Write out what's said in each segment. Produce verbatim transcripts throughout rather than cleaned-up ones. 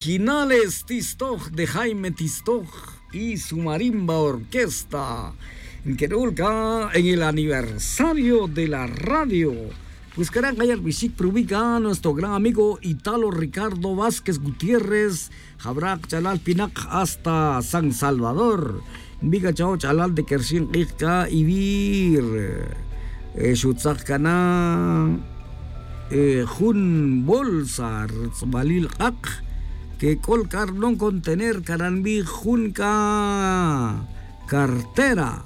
Originales tistoj de Jaime Tistoj y su marimba orquesta. Nque'ul c'a en el aniversario de la radio. Pues cara' nkaya' rbixic prubi' c'a nuestro gran amigo Italo Ricardo Vázquez Gutiérrez, jawra' kach'alal pinak hasta San Salvador. Nbi' c'a chawa' ch'alal de que rxin k'ij c'a ivir xutzak cana jun bolsa rtz'balil k'ak, que c'ol c'a rbanon contener cara' nbij jun c'a cartera.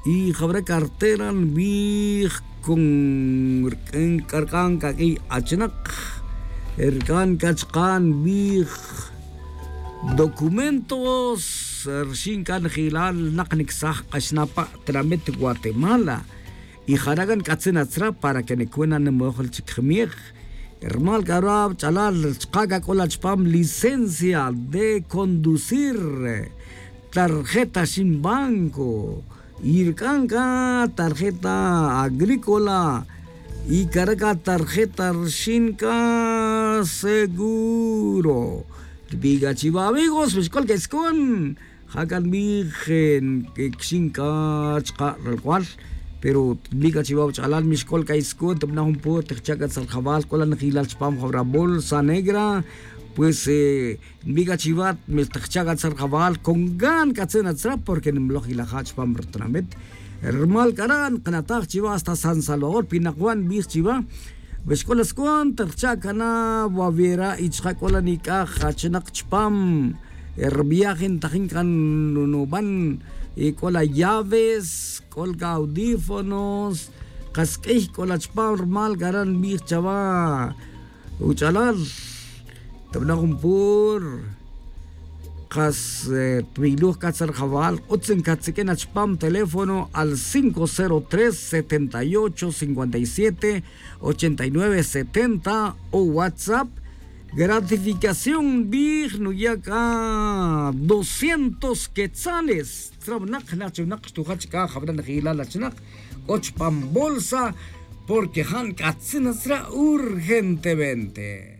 Y jawre' cartera nbij con rc'an c'a q'uiy achnak, rc'an c'a chka' nbij documentos rxin c'a njelal nak nicsaj k'axna pa' tinamit guatemala. Y jara' c'a nc'atzin atzra para que nicuna nimoj chic jmiej. Rumal c'a ra' wach'alal chka' c'a c'o la chupam licencia de conducir, tarjeta xin banco, y rc'an c'a tarjeta agrícola, y cara' c'a tarjeta rxin c'a seguro. Rbi' c'a chiva amigos, mixc'ol c'a iscon. Ja c'a nbij quixin c'a chka' ralc'ual, pero nbij c'a chiva wach'alal, mixc'ol c'a iscon tibana' jun pur tijcha' c'a tzaljaval c'o la njelal chupam jawra' bolsa negra. Pues nbij c'a chiva, mixtijcha' c'a tzaljaval con gan c'a tzin atzra porque nimloj ilaja' chupam ritinamit. Rumal c'a ra' nkanataj chiva hasta San Salvador, pinak wa' nbij chiva. Wixc'ol ascon tijcha' cana wawera' y chka' c'o la nic'aj achnak chupam riviaje ntajin c'a nuban, c'o la llaves, c'o la c'a audífonos, kas q'uiy c'o la chupam. Rumal c'a ra' nbij chawa' wach'alal, tabana' jun pur kas twiloj c'a tzaljaval, utz ncatsiq'uin achupam teléfono al cinco cero tres, setenta y ocho, cincuenta y siete, ochenta y nueve, setenta, o whatsapp. Gratificación nbij nuya' c'a doscientos quetzales. Tzra winak, jna' chi winak xtuja' chka' jawra' njelal achnak c'o chupam bolsa, porque ja nc'atzin atzra' urgentemente.